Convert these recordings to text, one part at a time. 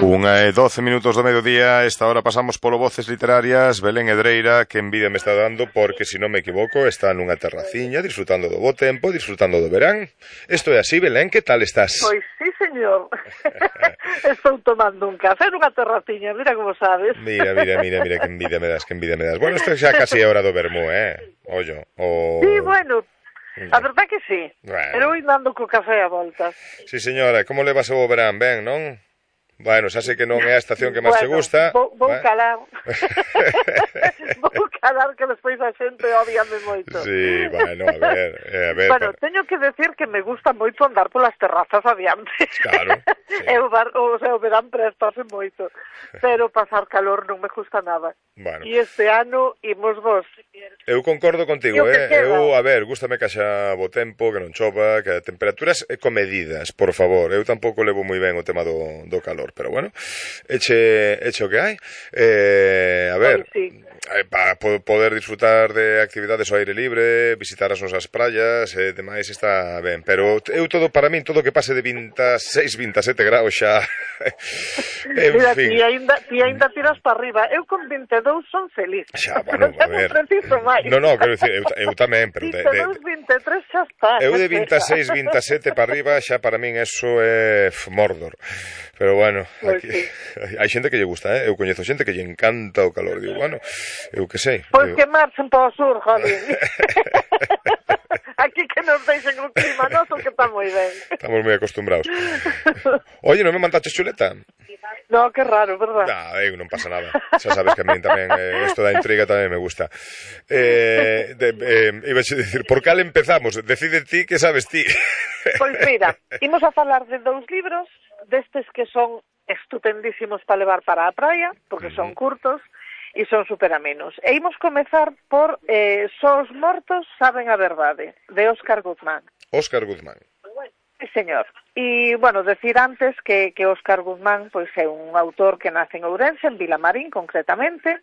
1:12 do mediodía. Esta hora pasamos polo Voces Literarias. Belén Edreira, que envidia me está dando, porque, se non me equivoco, está nunha terraciña, disfrutando do bo tempo, disfrutando do verán. Isto é así, Belén, que tal estás? Pois sí, señor. Estou tomando un café nunha terraciña, mira como sabes. Mira, que envidia me das, que envidia me das. Bueno, isto xa casi é hora do vermú, Ollo, Sí, bueno, a verdade que sí. Bueno. Pero eu ando co café a volta. Sí, señora, como levas o verán? Ben, non? Bueno, xa sei que non é a estación que máis te gusta. Vou calar. Vou calar, que despois a xente odiame moito. Sí, bueno, a ver. Bueno, teño que decir que me gusta moito andar polas terrazas adiante. Claro. Sí. O verán prestase moito. Pero pasar calor non me gusta nada. Bueno. E este ano imos vos. Eu concordo contigo, Eu, a ver, gústame que haxa bo tempo, que non chova, que a temperaturas comedidas, por favor. Eu tampouco levo moi ben o tema do calor, pero bueno, eche o que hai. A ver, sí. Para poder disfrutar de actividades ao aire libre, visitar as nosas praias e demais está ben, pero eu todo, para min, todo que pase de 26, 27 graus xa Mira, ti ainda tiras para arriba. Eu con 22 son feliz. Xa, bueno, a ver. No, quero dicir, eu tamén, pero 22, 23 xa está. Eu de 26, 27 para arriba xa para min eso é Mordor. Pero bueno, aquí, sí. Hai xente que lle gusta, Eu coñezo xente que lle encanta o calor. Digo, bueno, eu que sei. Pois que marchen para o sur, jolín. Aquí que nos deixen un clima noso que está moi ben. Estamos moi acostumbrados. Oye, non me mandaches chuleta? No, que raro, verdad? Non pasa nada. Xa sabes que a mí tamén isto da intriga tamén me gusta. Iba a dicir, por cal empezamos? Decide ti, que sabes ti. Pois mira, imos a falar de 2 libros, destes que son estupendísimos para levar para a praia, porque son curtos e son super amenos. E imos comezar por Só os mortos saben a verdade, de Óscar Guzmán. Óscar Guzmán. Sí, señor. E, bueno, decir antes que Óscar Guzmán pois é un autor que nace en Ourense, en Vilamarín, concretamente,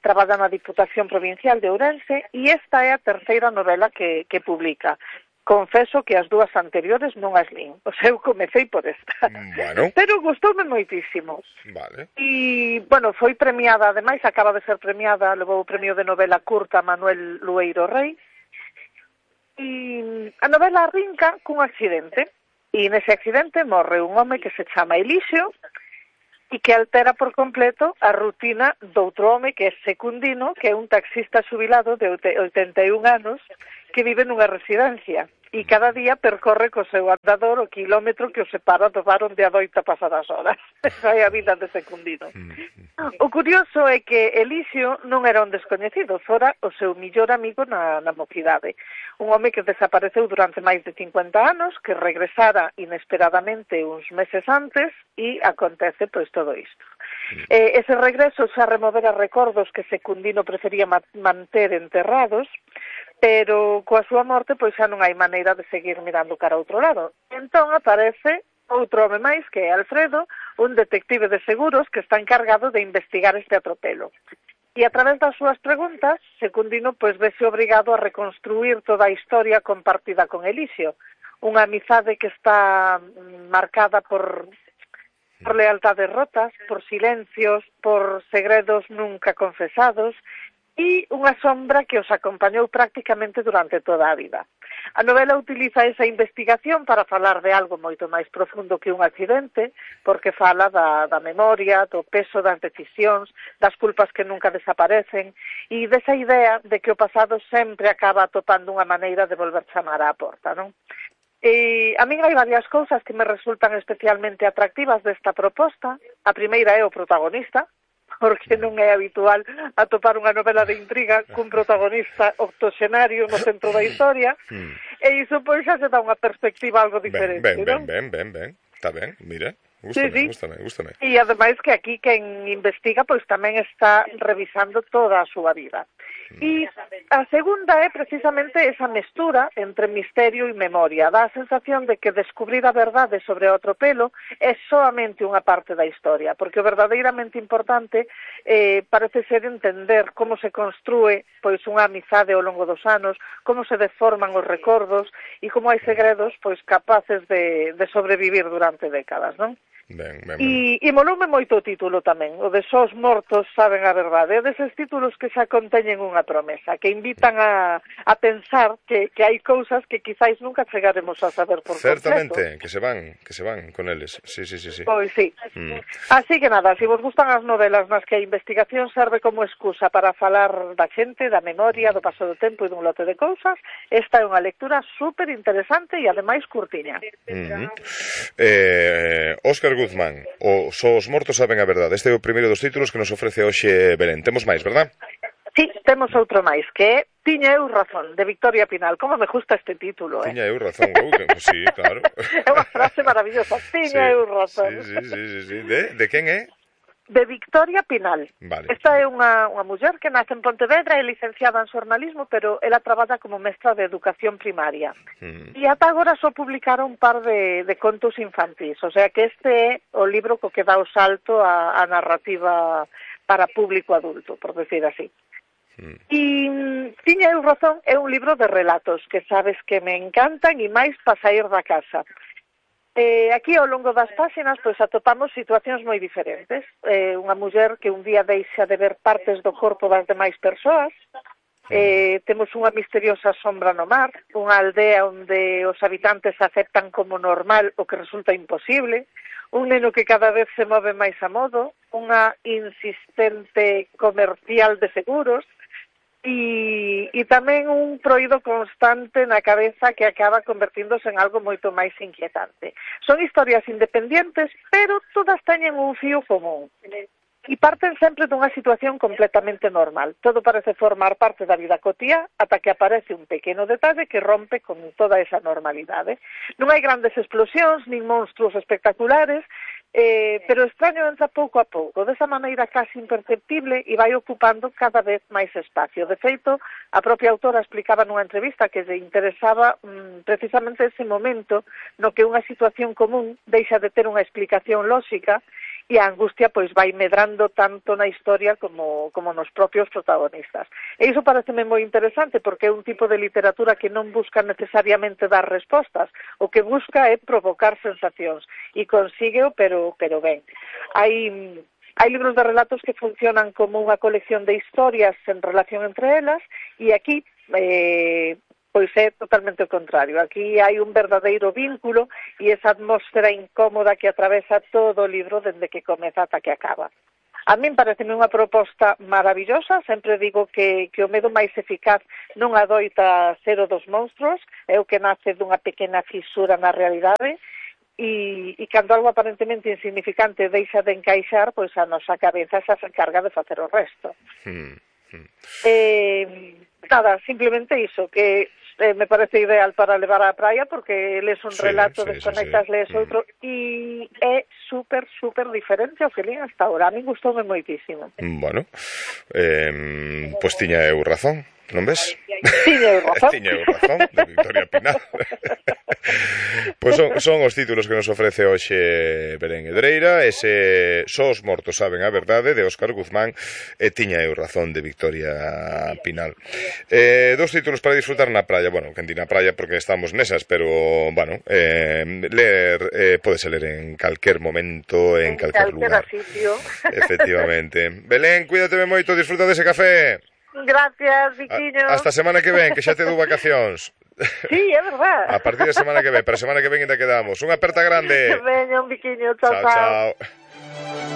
traballa na Diputación Provincial de Ourense, e esta é a terceira novela que publica. Confeso que as 2 anteriores non as lín. O sea, eu comecei por esta. Bueno. Pero gustoume moitísimo. Vale. E, bueno, foi premiada, ademais, acaba de ser premiada, levou o premio de novela curta Manuel Lueiro Rei. E a novela arrinca cun accidente. E nese accidente morre un home que se chama Elixio e que altera por completo a rutina doutro home que é Secundino, que é un taxista xubilado de 81 anos que vive nunha residencia. E cada día percorre co seu andador o kilómetro que o separa do bar onde adoita pasar as horas. Esa é a vida de Secundino. O curioso é que Elixio non era un descoñecido, fora o seu millor amigo na mocidade. Un home que desapareceu durante máis de 50 anos, que regresara inesperadamente uns meses antes, e acontece pois todo isto. Ese regreso xa removera recordos que Secundino prefería manter enterrados, pero coa súa morte pois xa non hai maneira de seguir mirando cara a outro lado. Entón aparece outro home máis, que é Alfredo, un detective de seguros que está encargado de investigar este atropelo. E a través das súas preguntas, Secundino pois vese obrigado a reconstruir toda a historia compartida con Elixio, unha amizade que está marcada por lealtades rotas, por silencios, por segredos nunca confesados, e unha sombra que os acompañou prácticamente durante toda a vida. A novela utiliza esa investigación para falar de algo moito máis profundo que un accidente, porque fala da memoria, do peso das decisións, das culpas que nunca desaparecen, e desa idea de que o pasado sempre acaba atopando unha maneira de volver chamar á porta, non? E a min hai varias cousas que me resultan especialmente atractivas desta proposta. A primeira é o protagonista, porque non é habitual atopar unha novela de intriga cun protagonista octoxenario no centro da historia, e iso pois xa se dá unha perspectiva algo diferente, non? Ben, está ben, mira, gústame. E ademais que aquí quen investiga pois tamén está revisando toda a súa vida. E a segunda é precisamente esa mestura entre misterio e memoria. Dá a sensación de que descubrir a verdade sobre o atropelo é solamente unha parte da historia, porque o verdadeiramente importante parece ser entender como se construe pois unha amizade ao longo dos anos, como se deforman os recordos e como hai segredos pois capaces de sobrevivir durante décadas, non? E moloume moito o título tamén, o de Só os mortos saben a verdade. É deses títulos que xa conteñen unha promesa, que invitan a pensar que hai cousas que quizáis nunca chegaremos a saber por completo. Certamente, que se van con eles. Sí. Pois sí. Así que nada, se vos gustan as novelas nas que a investigación serve como excusa para falar da xente, da memoria, do paso do tempo e dun lote de cousas, esta é unha lectura super interesante e ademais curtiña. Óscar Guzmán, o Só os mortos saben a verdade. Este é o primeiro dos títulos que nos ofrece hoxe Belén. Temos máis, verdad? Sí, temos outro máis, que é Tiña eu razón, de Victoria Pinal. Como me gusta este título, Tiña eu razón, sí, claro. É unha frase maravillosa, tiña eu razón. Sí. De quen é? De Victoria Pinal. Vale. Esta é unha muller que nace en Pontevedra, é licenciada en xornalismo, pero ela traballa como mestra de educación primaria. E ata agora só publicara un par de contos infantís, o sea que este é o libro co que dá o salto a narrativa para público adulto, por decir así. E Tiña eu razón é un libro de relatos que sabes que me encantan e máis para sair da casa. Aquí ao longo das páxinas pois atopamos situacións moi diferentes. Unha muller que un día deixa de ver partes do corpo das demais persoas. Temos unha misteriosa sombra no mar, unha aldea onde os habitantes aceptan como normal o que resulta imposible, un neno que cada vez se move máis a modo, unha insistente comercial de seguros, e tamén un proído constante na cabeza que acaba convertíndose en algo moito máis inquietante. Son historias independientes, pero todas teñen un fío común. E parten sempre dunha situación completamente normal. Todo parece formar parte da vida cotiá ata que aparece un pequeno detalle que rompe con toda esa normalidade. Non hai grandes explosións, nin monstruos espectaculares, pero extraño entra pouco a pouco, desa maneira casi imperceptible e vai ocupando cada vez máis espacio. De feito, a propia autora explicaba nunha entrevista que lle interesaba precisamente ese momento no que unha situación común deixa de ter unha explicación lóxica e a angustia pois vai medrando tanto na historia como nos propios protagonistas. E iso pareceme moi interesante porque é un tipo de literatura que non busca necesariamente dar respostas, o que busca é provocar sensacións e consígueo, pero ben. Hai libros de relatos que funcionan como unha colección de historias en relación entre elas e aquí pois é totalmente o contrario. Aquí hai un verdadeiro vínculo e esa atmósfera incómoda que atravesa todo o libro dende que comeza ata que acaba. A min pareceme unha proposta maravillosa, sempre digo que o medo máis eficaz non adoita ser o dos monstruos, é o que nace dunha pequena fisura na realidade, e cando algo aparentemente insignificante deixa de encaixar, pois a nosa cabeza xa se encarga de facer o resto. Nada, simplemente iso, que me parece ideal para levar á praia porque lees un relato, desconectas, lees outro e é super diferente ao que lín hasta ahora. A mí gustoume moitísimo. Bueno, pois tiña eu razón, non ves? Tiña eu razón. Tiña eu razón, de Victoria Pinal. Pois son os títulos que nos ofrece hoxe Belén Hedreira, ese Só os mortos saben a verdade, de Óscar Guzmán, e Tiña eu razón, de Victoria Pinal. Dos títulos para disfrutar na praia, bueno, que na praia porque estamos nesas, pero, bueno, ler, podese ler en calquer momento, en calquer lugar. Sitio. Efectivamente. Belén, cuídate moito, disfruta dese café. Gracias, Viquiño. Hasta a semana que ven, que xa te dou vacacións. Sí, é verdad. A partir da semana que ven, para a semana que ven ainda quedamos. Unha aperta grande. Veña, un Viquiño, chao. Chao.